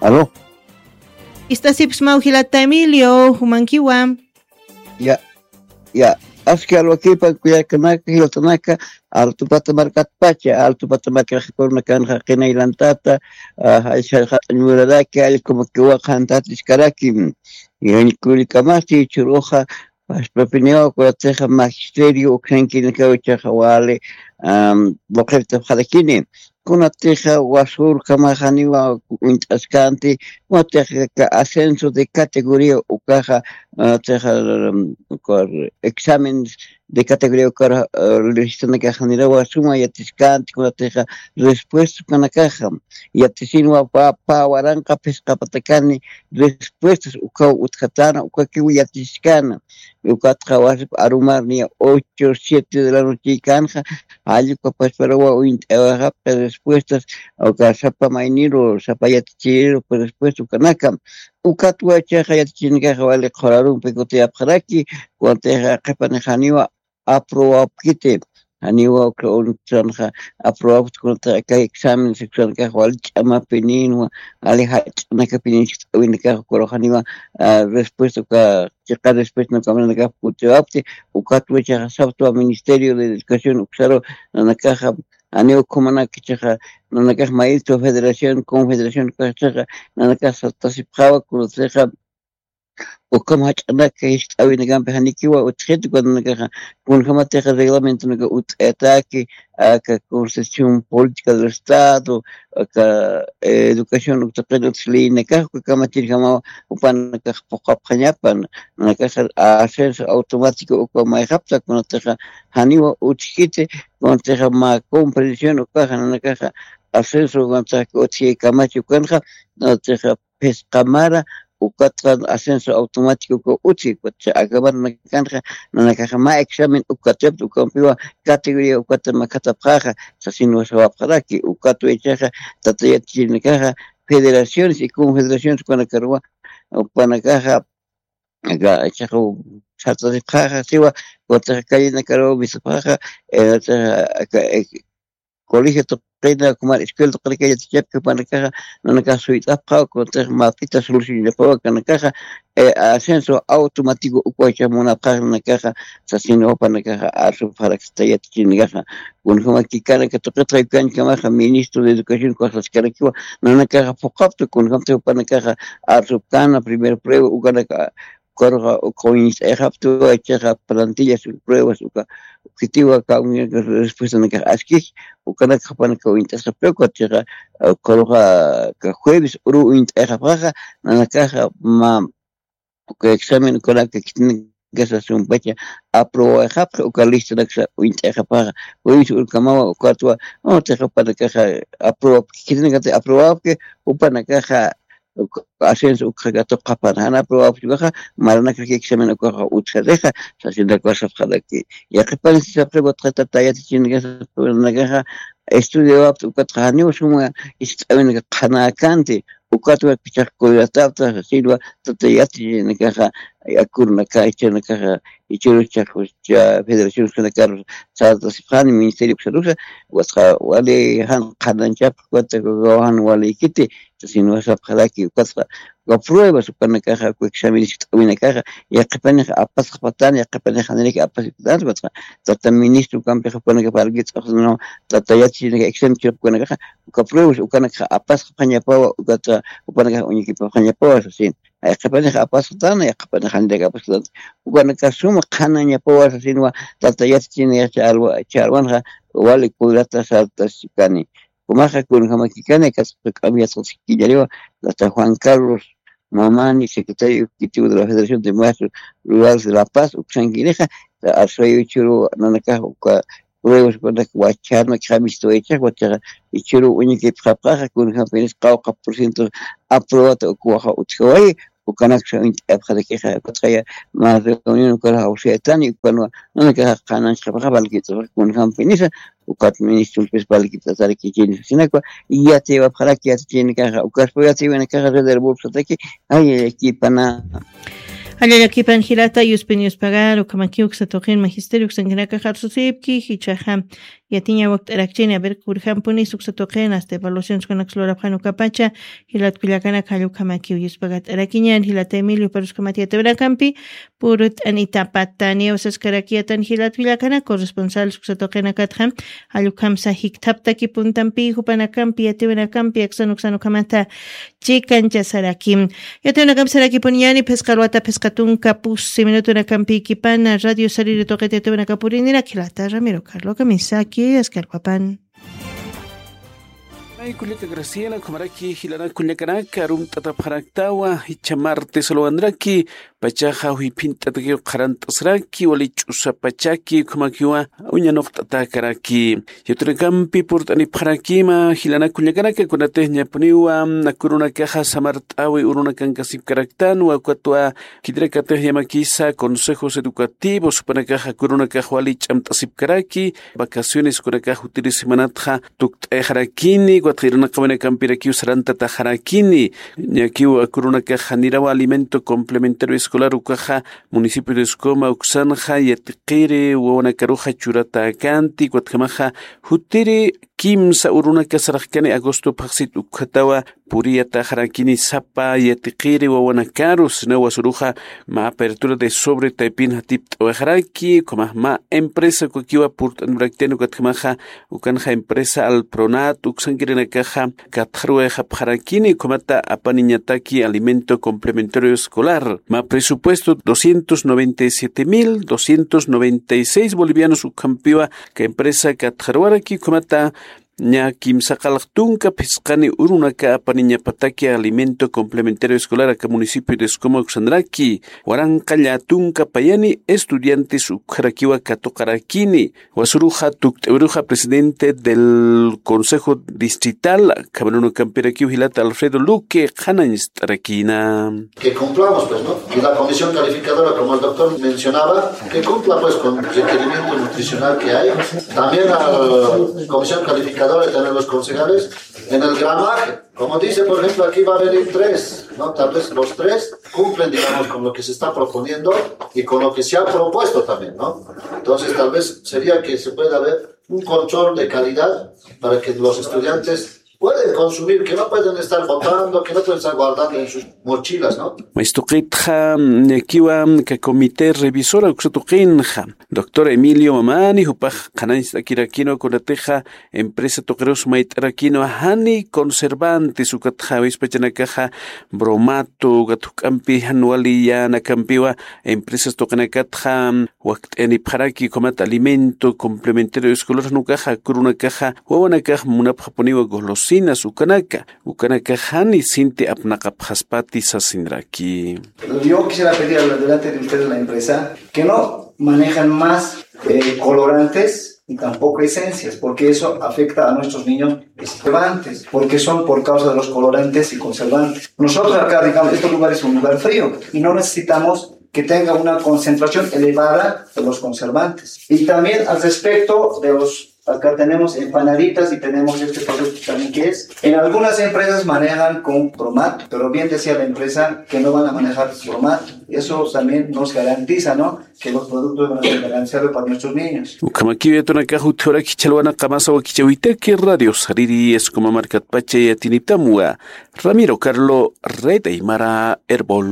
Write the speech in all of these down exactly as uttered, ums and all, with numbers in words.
Aló. Ist'asipxsmaw jilata Emilio, jumankiwa. Ya, ya. Aski alwakipa kuyakanaka, jilatanaka, Altupata markatpacha, Altupata markax kurunakanxa qinaylantata, ah, jaysa jat'añ muraraki, allkumakiwa qhantatiskaraki. Yañkulikamasi churuxa, paspapiniwa, kunatixa magisterio uksankinakaw ichaxa wali, am, waqirtapxarakini. Kunatixa wasurkamaxaniwa uñt'askanti, kunatixa ka ascenso de categoría ukaxa, ah, tixa, am, ukar exámenes de categoría ukar, ah, listanakaxanirawa suma yatiskanti, kunatixa respuesta ukanakaxa. Yatisinwa pa, pa waranqa phisqa patakani respuestas ukaw utjatana, ukakiw yatiskana. Ukatxa wasip arumarniya ocho, siete de la noche kanxa, jallukapasparuwa uñt'awaxapxi respuestas, uka sapa mayniru, sapa yatichiriru, respuesta ukanaka. Ukatwa ichaxa yatichirinakaxa wali qhurarumpi kutiyapxaraki, kunatixa qhipanix janiwa aprobapkiti, janiwa uksa unuksanxa aprobapkiti, kunatixa aka examen uksanakax wali ch'amapininwa, wali jach'anakapinin, jist'awinakax ukarux janiwa, ah, respuesta uka chiqa respuesta ukamanakax kutiwapkti, ukatwa ichaxa saptwa Ministerio de Educación uksaru nanakaxa, janiwa ukhamanaka ichaxa, nanakax maestro federación, confederación ukax ichaxa, nanakax satasipxawa, kunatixa ukham jach'anaka jist'awinakampi janikiwa utjiti, kunanakaxa, kunjamatixa reglamentonaka ut'ataki, aka Constitución Política del Estado, aka, eh, educación uktaqin utjlïnakax, uka kamachirjamawa, jupanakax phuqhapxañapa, nanakaxa ascenso automático uka mayxapta, kunatixa janiwa utjkiti, kunatixa mä comprensión ukaxa, nanakaxa ascenso, kunatixa utji kamachi ukanxa, kunatixa phisqa mara, ukatxa ascenso automático uka utji, ukatxa acabar nakanxa, nanakaxa mä examen ukatapta, ukampiwa categoría ukata makhatapxaxa, sasinwa sawapxaraki, ukatwa ichaxa, tata yatichirinakaxa, federaciones y confederaciones ukanakaruwa, upanakaxa, aka, ichaxa, sartasipxaxa, siwa, ukatxa callenakaruwa misapxaxa, eh, aka, eh, colegio tuqina, kumar escuela tuqina kayatichapki, upanakaxa, nanakax suyt'apxaw, kunatix mapita solucionapawa, kunanakaxa, eh, ascenso automático ukwacha munapxax, nanakaxa, sasinwa upanakaxa, arsupxarakista yatichirinakaxa, kunjamakikana, katuqitxa ukankamaxa, ministro de educación ukax saskarakiwa, nanakaxa phuqhaptu, kunjamtix upanakaxa, arsupkana, primer prueba, ukanaka, ukaruxa, uka uñt'ayxaptu, ichaxa plantillas, pruebas, uka, ukitiwa, ka uña, respuestanakax askix, ukanakax jupanakax uñt'asxaptu, uka chixa, ukaruxa, ka jueves uru uñt'ayxapxaxa, nanakaxa, mä, uka examen, ukanaka khitinakasa sumpacha, aprobawayxapxi, uka listanaksa uñt'ayxapxaxa, jueves urukamawa, ukatwa, utjixa jupanakaxa, aprobapki, khitinakati aprobapki, jupanakaxa, uk-, ascenso ukxa katuqapxan, jan aprobapki ukaxa, maranakax examen ukaxa utjarixa, sasinakwa sapxaraki. Yaqhipanisi sapxi, ukatxa tata yatichirinakaxa, estudiawapxi, ukatxa janiw suma jist'awinaka qhanäkanti, ukatwa pichax cuidatapxta, sasinwa tata yatichirinakaxa, akurunaka, ichanakaxa, ichurus chaqus, cha federación ukanakaru, sartasipxani ministerio uksarusa, ukatxa wali jan qhananchapxi, ukatxa jan walikiti, sasinwa sapxaraki, ukatxa, uka pruebas ukanakaxa, uka examen jist'awinakaxa, yaqhipanix apasxapxtan, yaqhipanix janiraki apasxapxtan, ukatxa, tata ministro ukampix ukanakax parlkits'axsna, tata yatichirinaka examen churapxi ukanakaxa, uka pruebas ukanakaxa apasxapxañapawa, ukatxa, upanakax uñikipapxañapawa, sasin. Yaqhipanix apasxtan, yaqhipanix janirak apasxtan. Ukanakax suma qhanañapawa sasinwa, tata yatichirinakax ch'alwa-, ch'alwanxa, wali cuidata sartaskani. Kumaxa kunjamakikani, kasqa k'amiyasqaskillariwa, tata Juan Carlos Mamani, secretario ejecutivo de la Federación de Maestros Rurales de La Paz, uksankinixa, arsayuchuru nanakax uka pruebas ukanak wacharnak jamistuwayachax, wachaxa ichuru uñikipxapxaxa, kunjampinis qawqha por ciento aprobata ukuwaxa utjawayi, ukanaksa uñt'apxarakixa, ukatxaya mä reunión ukar jawsayatani, ukanwa nanakaxa qhananchxapxaxa, valkits'apxaxa, kunjampinisa, ukat ministrulpis valkits'asarakichini, sasinakwa, yatiyawapxaraki yatichirinakaxa, ukaspa yatiyawinakaxa, rederbulpsataki, ay, ay, ay, kipana. Jallallakipan jilata, yuspin yuspagar, ukhamaki uksa tuqin magisterio uksankinakax arsusipki, jichhaxa Yatiña wakt'arakchini, a ver, kurjampuni suksa tuqin, hasta evaluaciones kunakas lurapxan ukapacha, jilat kullakanaka, jallukamakiw yuspagat'arakiñan, jilata Emilio, paruskamati yatiwanakampi, purut'anitapatani, usaskarakiyatan jilat kullakana, corresponsal suksa tuqinakatxa, jallukamsa jikthaptaki puntampi, jupanakampi, yatiwanakampi, aksan uksan ukhamata, chikanchasaraki. Yatiwanakampi sarakipuniñani, phisqa ruwata, phisqa tunka, pusi minutunakampïkipana, Radio Sariri tuqita yatiwanakapuriniraki, jilata Ramiro Carlo Kamisaki, askarwapan. Nay kullaka Graciela, ukhamaraki jilanak kullakanaka, arumt'atapxaraktawa, jichha martes luwanraki, pachaxa juyphint'atakiw qharant'asraki, wali ch'usa pachaki, ukhamakiwa, uñanuqt'atakaraki. Yatirakampi purt'anipxarakima, jilanak kullakanaka, kunatix ñapuniwa, akurunakaxa samart'awi urunakankasipkaraktanwa, ukatwa, khitirakatix yamakisa, consejos educativos, jupanakaxa akurunakax wali ch'amt'asipkaraki, vacaciones kunakax jutiri semanatxa tukt'ayxarakini, ukatxa irnaqawinakampirakiw sarantataxarakini, ñakiw akurunakax janirawa alimento complementario escolar ukaxa, municipio de Escoma uksanxa, yatiqiri wawanakaruxa churatäkanti, ukatjamaxa, jutiri kimsa urunaka sarxkani agosto phaxsit ukhatawa, puriyataxarakini sapa yatiqiri wawanakaru, sina wasuruxa mä apertura de sobre taypin jatipt'awixaraki, ukhamax mä empresa ukakiwa purt'anipxaraktiani ukatjamaxa, ukanxa empresa Alpronat uksankirinakaxa katxaruwayxapxarakini, ukhamata apaniñataki alimento complementario escolar. Mä presupuesto doscientos noventa y siete mil doscientos noventa y seis bolivianos ukhampiwa, ka empresa katxaruwaraki, ukhamata ña kimsa qallq tunka phisqani urunaka apaniñapataki alimento complementario escolar aka municipio de Escoma uksanraki, waranqa llätunka payani estudiantes ukharakiwa katuqarakini, wasuruxa tukt'awiruxa presidente del Consejo Distrital, Camerunakampirakiw jilata Alfredo Luque, qhanañst'arakina. Que cumplamos, pues, ¿no? Y la comisión calificadora, como el doctor mencionaba, que cumpla, pues, con el requerimiento nutricional que hay. También la comisión calificadora y también los concejales en el gramaje. Como dice, por ejemplo, aquí va a venir tres, ¿no? Tal vez los tres cumplen, digamos, con lo que se está proponiendo y con lo que se ha propuesto también, ¿no? Entonces, tal vez sería que se pueda ver un control de calidad para que los estudiantes pueden consumir, que no pueden estar botando, que no pueden estar guardando en sus mochilas, ¿no? Mastuqitxa, ñakiwa, ka comité revisora uksatuqinxa, doctor Emilio Mamani, jupax qhanañst'akirakinwa kunatixa, empresa tuqirus mayt'arakinwa jani conservantes, ukatxa wispachanakaxa bromato, ukat juk'ampi jan wali yänakampiwa, empresas tuqinakatxa, wakt'ayanipxaraki, ukhamat alimento complementario escolar, nukaxa, kurunakaxa, wawanakax munapxapuniwa golosinas, ukanaka, ukanakax jani sinti apnaqapxaspati sasinraki. Yo quisiera pedir delante de ustedes la empresa que no manejan más eh, colorantes y tampoco esencias, porque eso afecta a nuestros niños y conservantes, porque son por causa de los colorantes y conservantes. Nosotros acá, digamos, este lugar es un lugar frío y no necesitamos que tenga una concentración elevada de los conservantes. Y también al respecto de los, acá tenemos empanaditas y tenemos este producto también que es, en algunas empresas manejan con bromato, pero bien decía la empresa que no van a manejar bromato. Eso también nos garantiza, ¿no? Que los productos van a ser balanceados para nuestros niños. Ukhamakiw yatunakax utjuraki chhalwana qamasa wakichäwitaki Radio Sariri Escoma markatpacha yatinitamwa. Ramiro Carlo, Red Aymara, Erbol.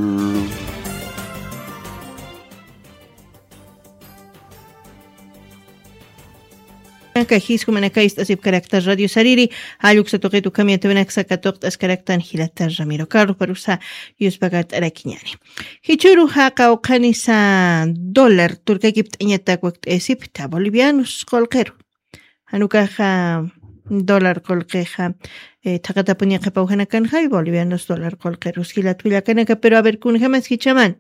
Aka jiskumanakay ist'asipkarakta Radio Sariri, jalluksa tuqit ukham yatiwinaksa katuqt'askaraktan jilata Ramiro Carlos, parusa yuspagart'arakiñani. Jichhüru jaqa uqhanisa dólar turkakipt'añatak wakt'ayasipta bolivianos qullqiru. Jan ukaxa dólar qullqixa, eh, thaqatapuni qhipawjanakanxa bolivianos dólar qullqirus jilat kullakanaka, pero a ver, kunjamas jichhaman.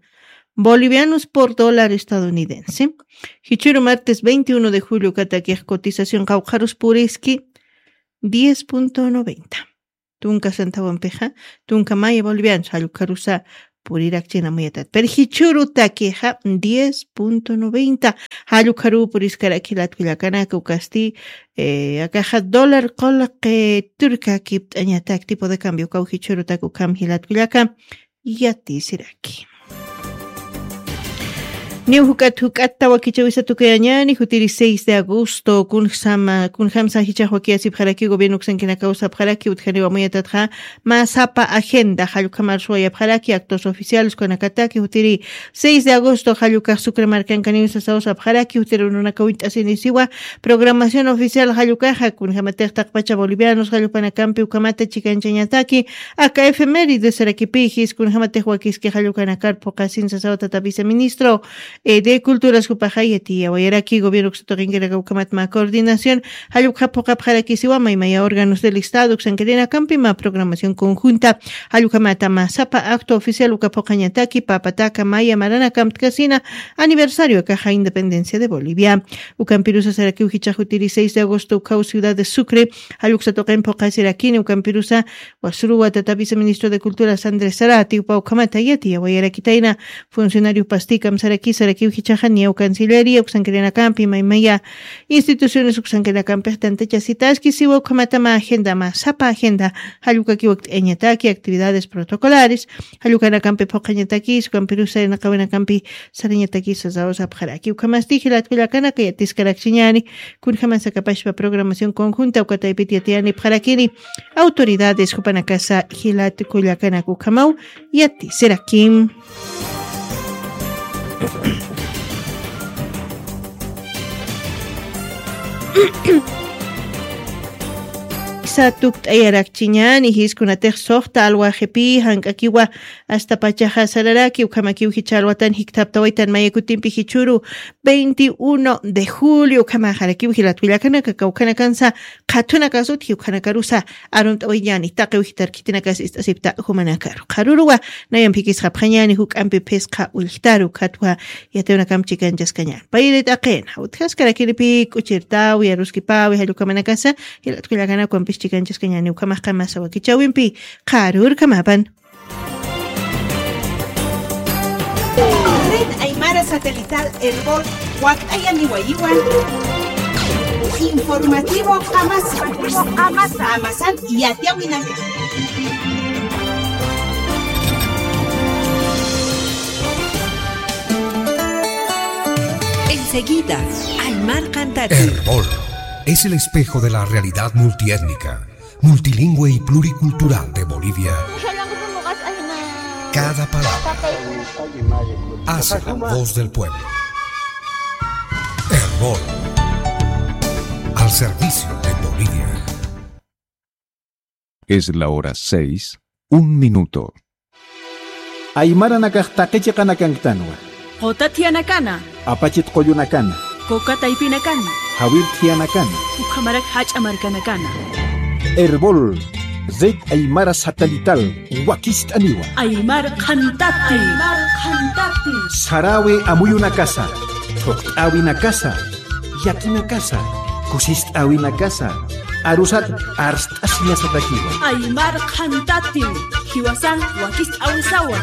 Bolivianos por dólar estadounidense. Jichhüru martes veintiuno de julio ukatakix cotización qawqharus puriski diez punto noventa. Tunka centavompixa, tunka maya bolivianos, jallukharusa purirakchina muyatat. Pero jichhürutakixa diez punto noventa. Jallukharu puriskarak jilat kullakanaka ukasti, eh, akaxa dólar qullqi turkakipt'añatak tipo de cambio ukaw jichhürutak ukham jilat kullaka. Yatisiraki. Niw juk'at juk'atta wakichäwisa tukuyañäni, jutiri seis de agosto, kunjsama, kunjamsa jichhax wakiyasipxaraki gobierno uksankinakaw sapxaraki, utjaniw amuyatatxa mä sapa agenda, jall ukham arsuwayapxaraki, actos oficiales ukanakataki, jutiri seis de agosto, jall ukax Sucre markankaniw sasaw sapxaraki, jutiri urunakaw uñt'asinisiwa, programación oficial jall ukaxa, kunjamatix taqpacha bolivianos jall jupanakampi ukhamata chikanchañataki, aka efemérides sarakipï jis kunjamatix wakiski jall ukanakar phuqasin sasaw tata viceministro, eh, de Culturas jupaxa yatiyawayaraki, gobierno uksa tuqinkinakaw ukhamat mä coordinación, jall ukxa phuqapxarakisiwa maymaya órganos del Estado uksankirinakampi mä programación conjunta, jall ukhamata mä sapa acto oficial uka phuqañataki, pä pataka maya maranakamptkasina aniversario akaxa independencia de Bolivia. Ukampirusa sarakiw jichhax jutiri seis de agosto ukhaw ciudad de Sucre, jall uksa tuqin phuqasirakini, ukampirusa wasruwa tata viceministro de Cultura Sandra Sarati, jupa ukhamata yatiyawayarakitayna, funcionario pastikam saraki, sarakiw jichhaxa niyaw cancillería uksankirinakampi maymaya instituciones uksankinakampix tantachasitaski, siwa ukhamata mä agenda, mä sapa agenda, jall ukakiw wakt'ayañataki, actividades protocolares, jall ukanakampi phuqañataki, ukampirusa irnaqawinakampi sarañataki sasaw sapxaraki. Ukhamasti jilat kullakanaka yatiskarakchiñäni, kunjamas akapashpa programación conjunta uka taypit yatiyanipxarakini, autoridades jupanakasa jilat kullakanaka ukhamaw yatisirakim. Sa tukt'ayarakchiñäni, jis kunatix suxta alwaxipï jank'akiwa, astapachaxa sararaki, ukhamakiw jichha alwatan jikthaptawaytan maya kutimpi jichhüru veintiuno de julio, ukhamaxarakiw jilat kullakanaka, kawkhanakansa qhathunakasut jiwkhanakarusa arunt'awayañäni, taqiw jitar khitinakas ist'asipta jumanakaru. Qharüruwa, nayan phikisxapxañäni juk'ampi phisqa ullktaru, ukhatwa yatiwinakam chikanchaskañäni. Payri t'aqina, utjaskarakiripï k'uchirtäwi, aruskipäwi, jall ukhamanakasa, jilat kullakanaka ukampis chikanchaskañäni, ukhamax qamasa wakichäwimpi, qharürkhamapan. Red Aymara Satelital Erbol wakt'ayaniwayiwa. Informativo qamasa. Qamasa. Qamasan yatiyawinak. Enseguida, Aymar Cantati. Erbol es el espejo de la realidad multiétnica, multilingüe y pluricultural de Bolivia. Cada palabra hace la voz del pueblo. Erbol, al servicio de Bolivia. Es la hora seis, un minuto. Aymaranakax taqi chiqanakanktanwa. Quta thiyanakana. Apachit qullunakana. Quka taypinakana. Jawir thiyanakana. Ukhamarak jach'a markanakana. Erbol, Red Aymara Satelital, wakist'aniwa. Aymar qhantati. Aymar qhantati. Sarawi amuyunakasa, thuqt'awinakasa, yakinakasa, kusist'awinakasa, arusat arst'asiñasatakiwa. Aymar qhantati, jiwasan wakist'awisawa.